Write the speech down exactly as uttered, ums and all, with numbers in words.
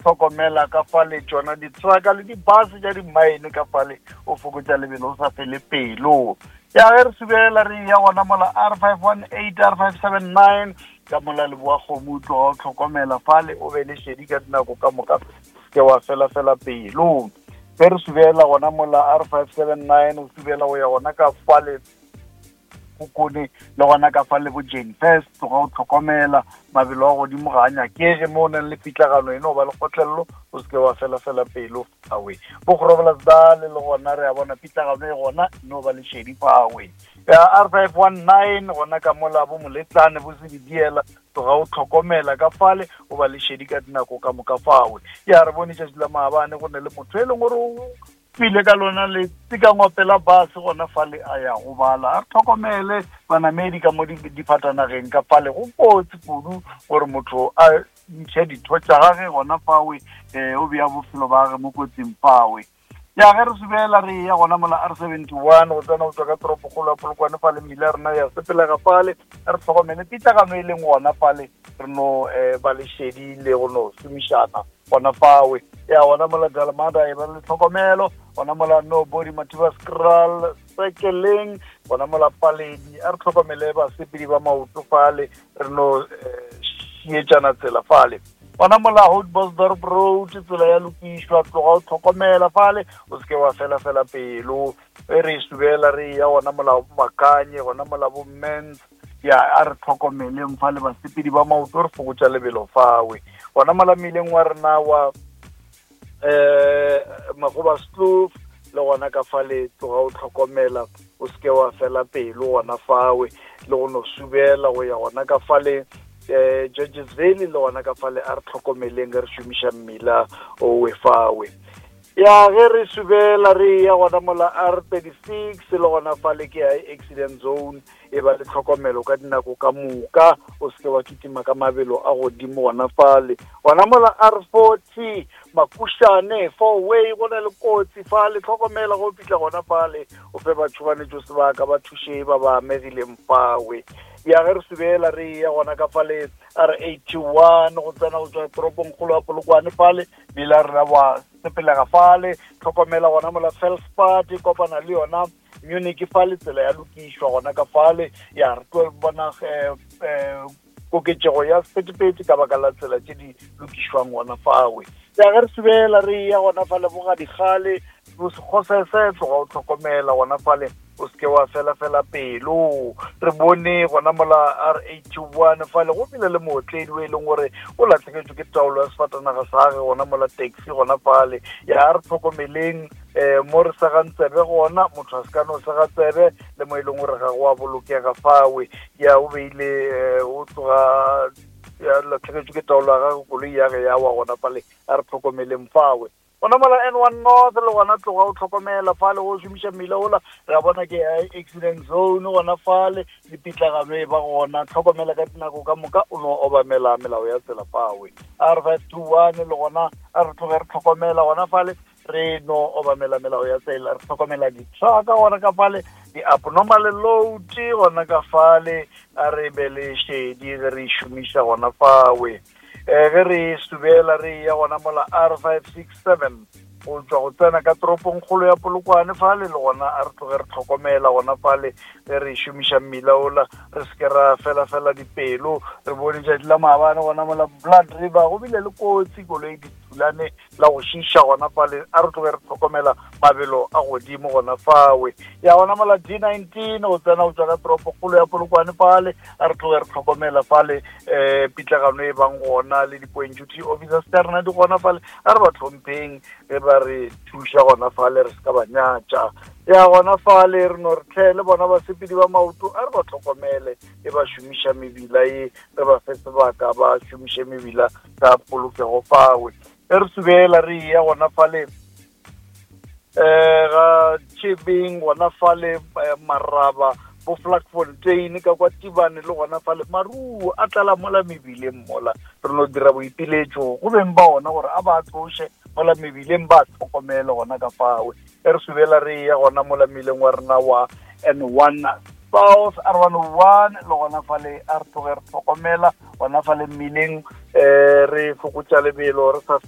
Hlokomela ka fale tšona di-trucka le di-bus tša di-mine ka fale, o fokotša lebelo o sa fele pelo. Ya ge re subela re ya gona mola R five one eight, R five seven nine, ka mola Leboa Kgomo, tloga o hlokomela fale, o be le šedi ka dinako ka moka, ke wa fela fela pelo. Ge re subela gona mola R five seven nine, o subela go ya gona ka fale Kukune le gona ka fale bo Jane First, tloga o hlokomela mabelo a godimo ga a nyakege mo o nang le pitlagano eno ba le kgotlelelo, o seke wa fela fela pelo awe. Bo Groblersdal le gona re a bona pitlagano e gona, no ba le šedi fawe. Ya R five one nine gona ka mola bo Moletlane bo Sebediela, tloga o hlokomela ka fale, o ba le šedi ka dinako ka moka fawe. Ya re bone tšatši la maabane go ne le motho e leng gore o pile ka lona le tsekangope la bus gona fale a ya go bala. A re tlhokomele banamedi ka mo difatanageng ka fale, go kotsi kudu gore motho a ntšhe ditho tša gage gona fawe, um o bea bophelo ba gage mo kotsing fawe. Ya ge re subela re ya gona mola R seventy one go tsena go tswa ka toropokgolo ya Polokwane fale, mmila ya rena ya sepelega fale, re tlhokomele pitlagano e leng gona fale, re no um ba le šedi le go no šomišana gona fawe. Ya gona mola Dalmada e ba le tlhokomelo gona mola no body Mathiba Skral sekeleng gona mola Paledi, a re tlhokomele basepedi ba maoto fale, re no šietšana tsela fale. Gona mola Houtbosdorp Road tsela ya lokišwa, tloga o tlhokomela fale, o seke wa fela fela pelo. E re subela re ya gona mola Makanye gona mola bo Mens, ya a re tlhokomeleng fale basepedi ba maoto, re fokotša lebelo fawe. Gona mola mmileng wa rena wa eh Magoba Kloof le gona ka fale, tloga o tlhokomela o seke wa fela pelo gona fawe, le go no subela go ya gona ka fale eh Georges Valley le gona ka fale, a re tlhokomeleng re šomiša mmila o we fawe. Ya ge re subela re ya gona mola R thirty six le gona fale ke high accident zone, e ba le tlhokomelo ka dinako ka moka, o seke wa kitima ka mabelo a godimo gona fale. Gona mola R forty Makushane four way go na le kotsi fale, tlhokomela go fihla gona fale, o fe batšhoganetšo sebaka ba thuše ba ba amegileng fawe. Ya ge re subela re ya gona ka fale R eighty one go tsena go tswa toropongkgolo ya Polokwane fale, mmila rena wa sepelega fale, tlhokomela gona mola Felspart e kopana le yona Munich fale, tsela ya lokišwa gona ka fale. Ya re tlo bona eh koketšego ya sephethephethe ka baka la tsela tše di lokišwang gona fawe. Ya ge re subela re ya gona fale bo Gadikgale bo Sekgosese, tloga o tlhokomela gona fale, o seke wa fela fela pelo. Re bone gona mola R eighty one fale go bile le mootledi o e leng gore o latlhegetswe ke taolo ya sefatanaga sa gage gona mola taxi gona fale. Ya re tlhokomeleng um mo re segang tsebe gona, motho a se ka no sega tsebe le mo e leng gore ga go a bolokega fawe. Ya o beile o tloga ya latlhegetswe ke taolo ya gage, koloi ya ge ya wa gona fale, a re tlhokomeleng fawe. Gona mola N one North le gona tloga o tlhokomela fale, go šomiša mmila ola, re a bona ke accident zone gona fale, le pitlagano e ba gona, tlhokomela ka dinako ka moka, o no obamela melao ya tsela fawe. R five two one le gona a re tloge re tlhokomela gona fale, re no obamela melao ya tsela, re tlhokomela di-trucka gona ka fale, di-abnormal load gona ka fale, a re be le šedi ge re šomiša gona fawe. Eh ge re subela re ya gona mola R five six seven go tswa go tsena ka toropongkgolo ya Polokwane fale, le gona a re tloge re tlhokomela gona fale ge re šomiša mmila ola, re seke ra fela fela dipelo. Re bone tšatši la maabane gona mola Blood River go bile le kotsi, koloi di thulane la go šiša gona fale, a re tloge re tlhokomela mabelo a godimo gona fawe. Ya gona mola D nineteen go tsena go tswa ka toropokgolo ya Polokwane fale, a re tloge re tlhokomela fale um pitlagano e bang gona le di-point duty officers tša rena di gona fale, a re ba tlhompheng ge ba re thuša gona fale, re se ka ba nyatša. Ya gona fale re no re tlhe le bona basepedi ba maoto, a re ba tlhokomele e ba šomiša mebila e, re ba fe sebaka ba šomiše mebila ka polokego fawe. E re subela re ya gona fale eh ga Tšhebeng gona fale Maraba bo Vlakfontein ka kwa Tibane le gona fale maruo a tlala mola mebileng mola, re no dira boipiletšo go beng ba ona gore a ba tloše mola mebileng, ba tlhokomele gona ka fawe. E re subela re ya gona mola mmileng wa rena wa N one South R one oh one le gona fale a re tloge re tlhokomela gona fale mmileng, um re fokotša lebelo re sa